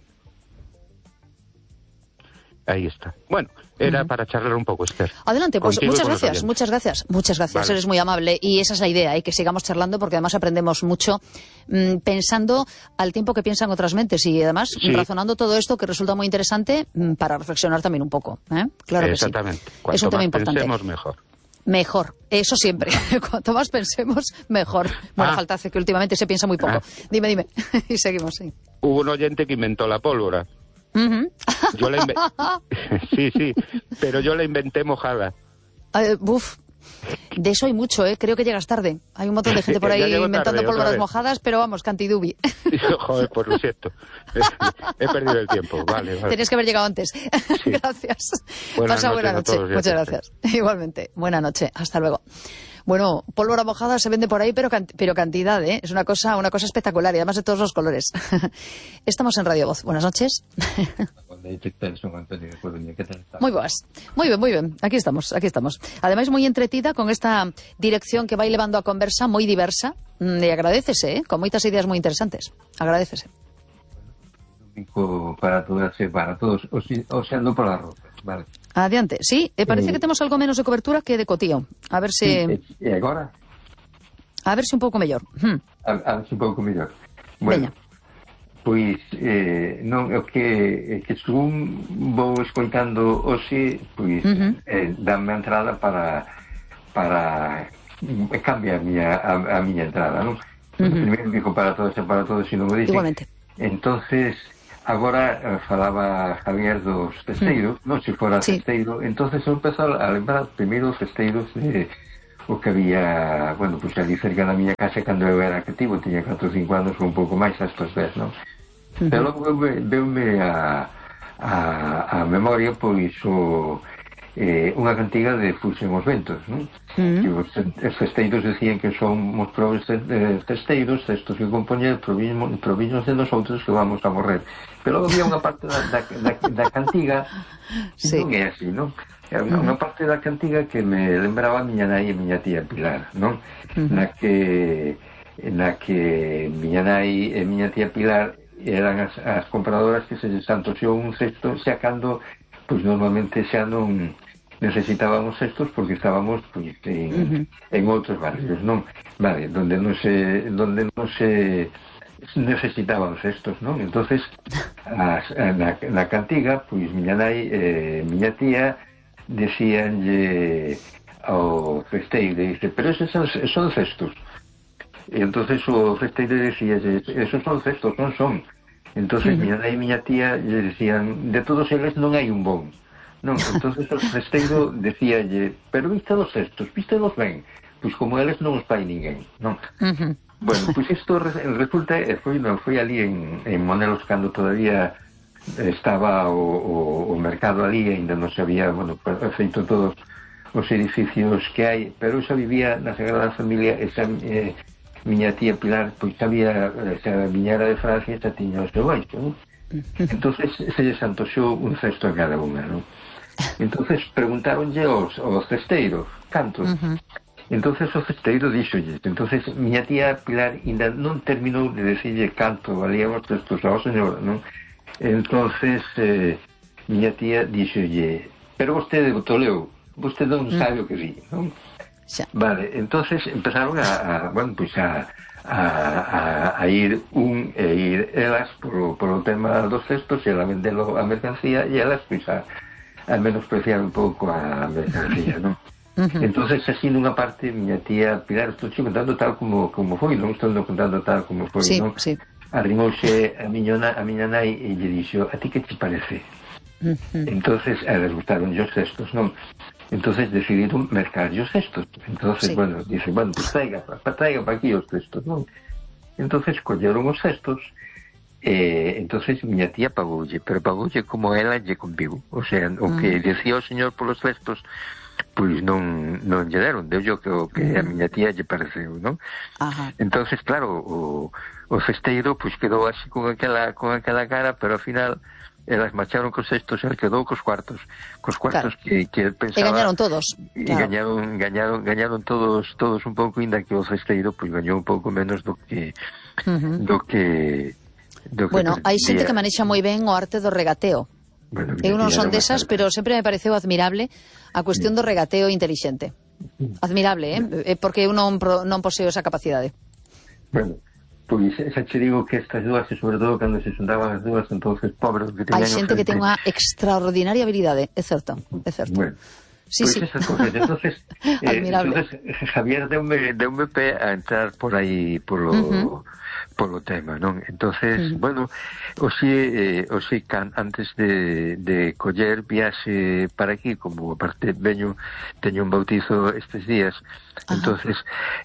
Ahí está. Bueno, era uh-huh. para charlar un poco, Esther. Adelante, pues muchas gracias, muchas gracias, muchas gracias, vale. Eres muy amable y esa es la idea, ¿eh? Que sigamos charlando porque además aprendemos mucho mmm, pensando al tiempo que piensan otras mentes y además sí. razonando todo esto que resulta muy interesante mmm, para reflexionar también un poco, ¿eh? Claro que sí. Exactamente. Cuanto es un tema más importante. Pensemos, mejor. Mejor, eso siempre. Cuanto más pensemos, mejor. Bueno, ah. falta hace que últimamente se piensa muy poco. Ah. Dime, dime. Y seguimos, sí. Hubo un oyente que inventó la pólvora. Uh-huh. Yo la inve... sí, sí, pero yo la inventé mojada. Uh, uf, de eso hay mucho, ¿eh? Creo que llegas tarde. Hay un montón de gente por ahí inventando tarde, pólvoras mojadas, pero vamos, cantidubi. Joder, pues lo siento. He perdido el tiempo, vale, vale. Tenías que haber llegado antes. Sí. Gracias. Buenas Pasa buena noche. Todos, Muchas gracias. Igualmente. Buena noche. Hasta luego. Bueno, pólvora mojada se vende por ahí, pero, can- pero cantidad, ¿eh? Es una cosa, una cosa espectacular y además de todos los colores. Estamos en Radio Voz. Buenas noches. Muy buenas. Muy bien, muy bien. Aquí estamos, aquí estamos. Además muy entretida con esta dirección que va elevando a conversa, muy diversa. Y agradécese, ¿eh? Con muchas ideas muy interesantes. Agradécese. Para todas, para todos, o sea, no por la ropa. Vale. Adiante. Sí, eh, parece eh, que tenemos algo menos de cobertura que de cotío. A ver si... E agora? A ver si un pouco mellor. Hmm. A, a ver si un pouco mellor. Bueno, pois, eh, non, o que, que según vou escoitando hoxe, pois, uh-huh. eh, dame a entrada para para cambiar a miña, a, a miña entrada, non? Uh-huh. Primeiro digo para todos e para todos, se non o dicen. Igualmente. Entonces, agora uh, falaba Javier dos cesteiros, uh-huh. non se fora sí. cesteiro, entonces eu empezou a lembrar primeiro os cesteiros de o que había, bueno, pois pues, ali cerca da miña casa cando eu era cativo, tiña catro ou cinco anos ou un pouco máis a estos dez, non? Uh-huh. Pero logo veume a, a, a memoria, pois, o, eh, unha cantiga de Fuxen os ventos, non? Uh-huh. Que os, os cesteiros decían que son os probes cesteiros, estos que compoñen proviños de nosotros que vamos a morrer. Pero logo había unha parte da, da, da, da cantiga sí. non é así, non? É unha, unha parte da cantiga que me lembraba a miña nai e miña tía Pilar, non? Uh-huh. Na que na que miña nai e miña tía Pilar eran as, as compradoras que se santoxou un cesto xa cando, pois normalmente xa non necesitábamos cestos porque estábamos pois, en, uh-huh. en outros barrios, non? Vale, donde non se donde non se necesitaban cestos, non? Entonces as, na, na cantiga, pois miña nai e miña tía decíanlle ao festeiro, dice, pero esos son, son cestos. E entonces o festeiro decía, esos son cestos, non son. Entonces uh-huh. miña nai e miña tía lle decían, de todos eles non hai un bon. Non, entonces o festeiro decíalle, pero viste dos cestos, viste dos ben, pois como eles non os fai ninguén, non? Uh-huh. Bueno, pois isto resulta, foi, non, foi ali en, en Monelos cando todavía estaba o, o, o mercado ali, ainda non se había, bueno, feito todos os edificios que hai, pero xa vivía na Sagrada Familia, esa eh, miña tía Pilar, pois sabía, xa viñera de Francia, xa tiña o seu baixo, non? Entonces se lle santoxou un cesto a cada unha, non? Entonces preguntaronlle aos, aos cesteiros, cantos? Uh-huh. Entonces o cesteiro díxolle, entonces miña tía Pilar ainda non terminou de decirlle canto valían os cestos ao señor, non? Entonces eh, miña tía díxolle, pero vostede botoleu, vostede non sabe o que di, non? Xa. Vale, entonces empezaron a, a bueno, pois a, a, a, a ir un e ir elas por, por o tema dos cestos e ela vendelo a mercancía e elas pois a, a menospreciar un pouco a mercancía, non? Uh-huh. Entonces así nunha parte miña tía Pilar, estou contando tal como, como foi, non estou contando tal como foi, sí, non? Sí. Arrimouse a miña, a miña nai e lle dixo, a ti que te parece? Uh-huh. Entonces a les gustaron os cestos, non? Entonces decidiron mercar os cestos. Entonces, sí. bueno, dice, bueno, pues traiga, traiga para aquí os cestos, non? Entonces colleron os cestos e entonces miña tía pagoulle, pero pagoulle como ela lle conviu. O sea, o uh-huh. que decía o señor polos cestos, pois non, non lle deron, deu yo que o que uh-huh. a miña tía lle pareceu, non? Uh-huh. Entonces, claro, o o cesteiro pois quedou así con aquela con aquela cara, pero ao final elas marcharon cos cestos e quedou cos cuartos, cos cuartos claro. que, que pensaba. E gañaron todos. E claro. gañaron, gañaron, gañaron todos todos un pouco, inda que o cesteiro pois gañou un pouco menos do que uh-huh. do que do que bueno, hai xente que manexa moi ben o arte do regateo. Bueno, eu non son desas, pero sempre me pareceu admirable a cuestión do regateo inteligente. Admirable, eh? Porque eu non, non poseo esa capacidade. Bueno, pois xa che digo que estas dúas, e sobre todo cando se xuntaban as dúas, entonces pobres que teñan... Hai xente que ten unha extraordinaria habilidade, é certo, é certo. Bueno, sí, pois sí. esas cosas, entonces, eh, entonces Javier deume, deume pé a entrar por aí polo, uh-huh. polo tema, non? Entonces, uh-huh. bueno, oxe, eh, oxe can, antes de, de coller viaxe para aquí, como aparte veño, teño un bautizo estes días, uh-huh. entonces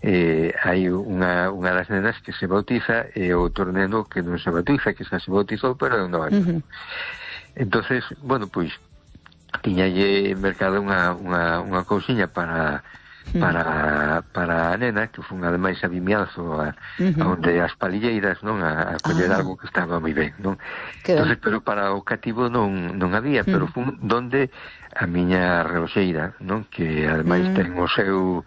eh, hai unha, unha das nenas que se bautiza e outro neno que non se bautiza, que xa se bautizou, pero non vai. Uh-huh. Entonces, bueno, pois tiñalle mercado unha, unha, unha cousiña para para para a nena, que fun ademais a Vimianzo a, uh-huh. a onde as palilleiras, non, a, a coller ah. algo que estaba moi ben, non? Entonces, pero para o cativo non, non había, uh-huh. pero fun donde a miña reloxeira, non? Que ademais uh-huh. ten o seu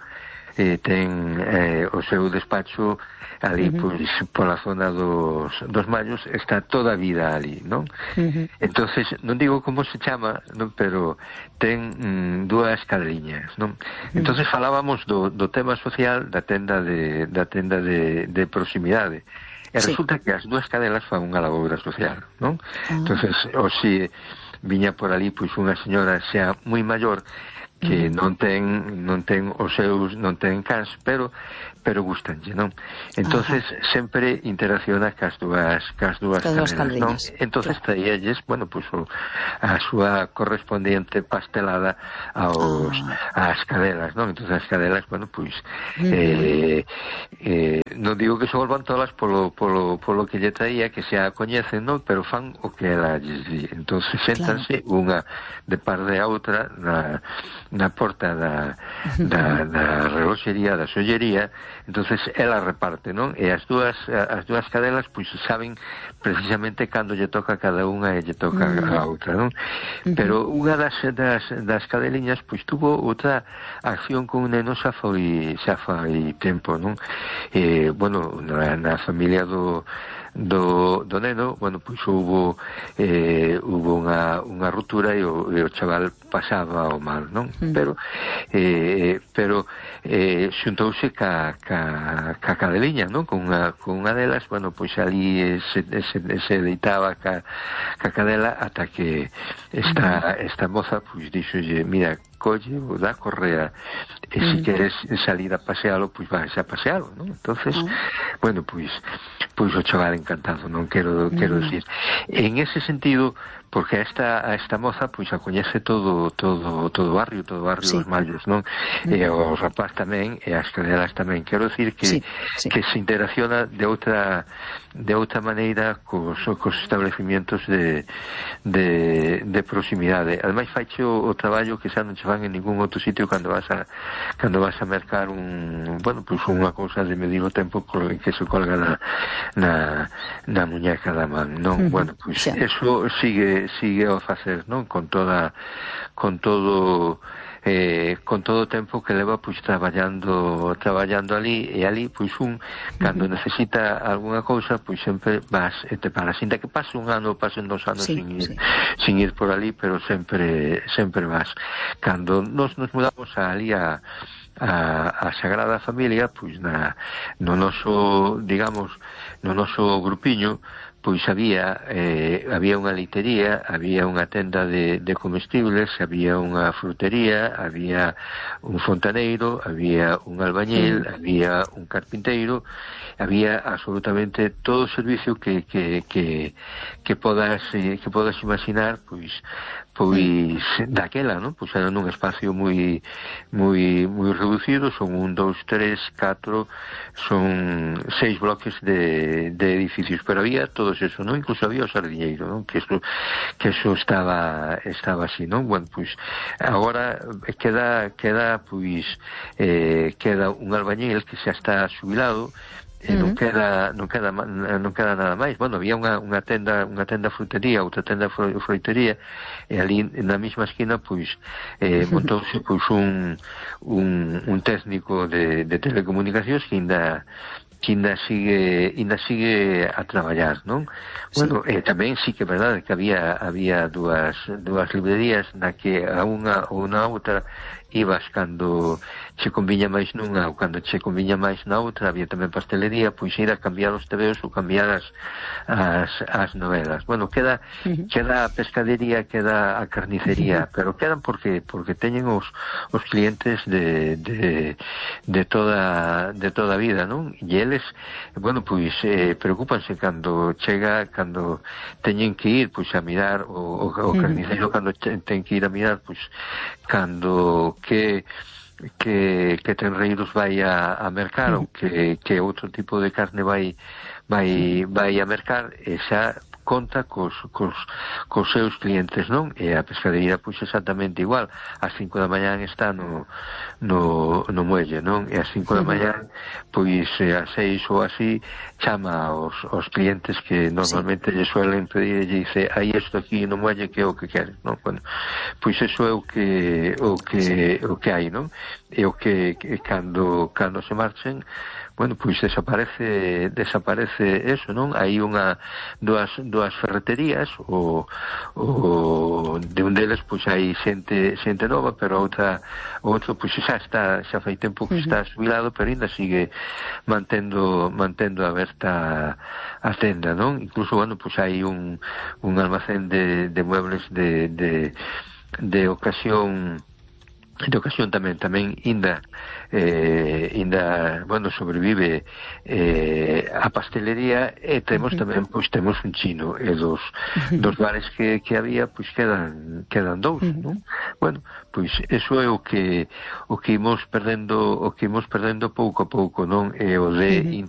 eh, ten eh, o seu despacho ali, uh-huh. pois, pola zona dos, dos Mallos, está toda a vida ali, non? Uh-huh. Entonces, non digo como se chama, non? Pero ten mm, dúas cadriñas, non? Uh-huh. Entonces falábamos do, do tema social da tenda de, da tenda de, de proximidade. E sí. resulta que as dúas cadelas fan unha laboura social, non? Uh-huh. Entonces, o si viña por ali, pois, unha señora xa moi maior, que non ten non ten os seus non ten cans, pero pero gustanlle, non? Entonces Ajá. sempre interacciona cas dúas cas dúas cadelas, non? Entonces claro. traíalles, bueno, pues o, a súa correspondiente pastelada aos ah. ás cadelas, non? Entonces as cadelas, bueno, pues uh-huh. eh, eh, non digo que se volvan tolas polo, polo, polo que lle traía, que se a coñecen, non? Pero fan o que ela lles di. Entonces séntanse claro. unha de par de a outra na, na porta da, da, da reloxería, da sollería. Entonces ela reparte, non? E as dúas as dúas cadelas pois saben precisamente cando lle toca a cada unha e lle toca uh-huh. a outra, non? Uh-huh. Pero unha das, das das cadeliñas pois tuvo outra acción con un neno xa foi xa foi tempo, non? Eh, bueno, na, na familia do do, do neno, bueno, pois hubo eh, hubo unha, unha ruptura e o, e o chaval pasaba o mal, non? Mm. Pero eh, pero eh, xuntouse ca, ca, ca cadeliña, non? Con unha, con unha delas, bueno, pois ali se, se, se deitaba ca, ca cadela ata que esta, esta moza pois dixolle, mira, colle ou da correa e se mm. queres salir a pasealo, pois vais a pasealo, non? Entonces, mm. bueno, pois pois o chaval encantado, non quero quero mm. decir. En ese sentido, porque esta a esta moza pois a coñece todo todo todo o barrio, todo o barrio sí. dos Mallos, non? Mm. E o rapaz tamén e as cadelas tamén. Quero decir que sí, sí. que se interacciona de outra de outra maneira cos, cos establecimientos de, de, de proximidade. Ademais faiche o, o traballo que xa non che fan en ningún outro sitio cando vas a cando vas a mercar un, bueno, pois unha cousa de medir o tempo que se colga na na, na muñeca da man, non? Uh-huh. Bueno, pois sí. eso sigue sigue a facer, non? Con toda con todo eh, con todo o tempo que leva pois traballando traballando ali e ali pois un cando uh-huh. necesita algunha cousa pois sempre vas e te paras, sinta que pase un ano, pasen dos anos sí, sin, ir, sí. sin ir por ali, pero sempre sempre vas. Cando nos nos mudamos ali a a, a Sagrada Familia, pois na no noso, digamos, no noso grupiño pois había eh, había unha leitería, había unha tenda de, de comestibles, había unha frutería, había un fontaneiro, había un albañil, sí. había un carpinteiro, había absolutamente todo o servicio que que que que podas eh, que podas imaginar, pois pois daquela, non? Pois era nun espacio moi moi moi reducido, son un, dous, tres, catro, son seis bloques de, de edificios, pero había todos eso, non? Incluso había o sardiñeiro, non? Que eso, que eso estaba estaba así, non? Bueno, pois agora queda queda pois eh, queda un albañil que xa está xubilado. E non queda non queda non queda nada máis. Bueno, había unha unha tenda, unha tenda frutería, outra tenda froitería, e ali na mesma esquina pois eh montouse pois un un un técnico de de telecomunicacións que ainda que ainda sigue ainda sigue a traballar, non? Bueno, sí. eh, tamén sí que é verdade que había había dúas dúas librerías na que a unha ou na outra ibas cando che conviña máis nunha ou cando che conviña máis na outra. Había tamén pastelería, pois ir a cambiar os tebeos ou cambiar as, as, as novelas. Bueno, queda uh-huh. queda a pescadería, queda a carnicería, uh-huh. pero quedan porque porque teñen os, os clientes de, de, de toda de toda a vida, non? E eles, bueno, pois eh, preocúpanse cando chega, cando teñen que ir pois a mirar o, o, o carniceiro, uh-huh. cando ten que ir a mirar pois cando que que que tenreiros vai a, a mercar ou que, que outro tipo de carne vai vai vai a mercar, e xa conta cos, cos, cos seus clientes, non? E a pescadería pois exactamente igual. Ás cinco da mañán está no, no, no muelle, non? E ás cinco da mañán pois ás seis ou así chama aos, aos clientes que normalmente sí. lle suelen pedir e lle dice, hai isto aquí no muelle que é o que queres, non? Bueno, pois eso é o que o que sí. o que hai, non? E o que, que cando cando se marchen, bueno, pois desaparece desaparece eso, non? Hai unha dúas dúas ferreterías, o, o de un deles pois hai xente xente nova, pero outra outro pois xa está xa fai tempo que uh-huh. está xubilado, pero ainda sigue mantendo mantendo aberta a tenda, non? Incluso, bueno, pois hai un un almacén de de muebles de de de ocasión de ocasión tamén, tamén ainda eh, ainda, bueno, sobrevive eh, a pastelería e temos uh-huh. tamén, pois temos un chino e dos, uh-huh. dos bares que, que había, pois quedan quedan dous, uh-huh. non? Bueno, pois eso é o que o que imos perdendo, o que imos perdendo pouco a pouco, non? É o de uh-huh. inter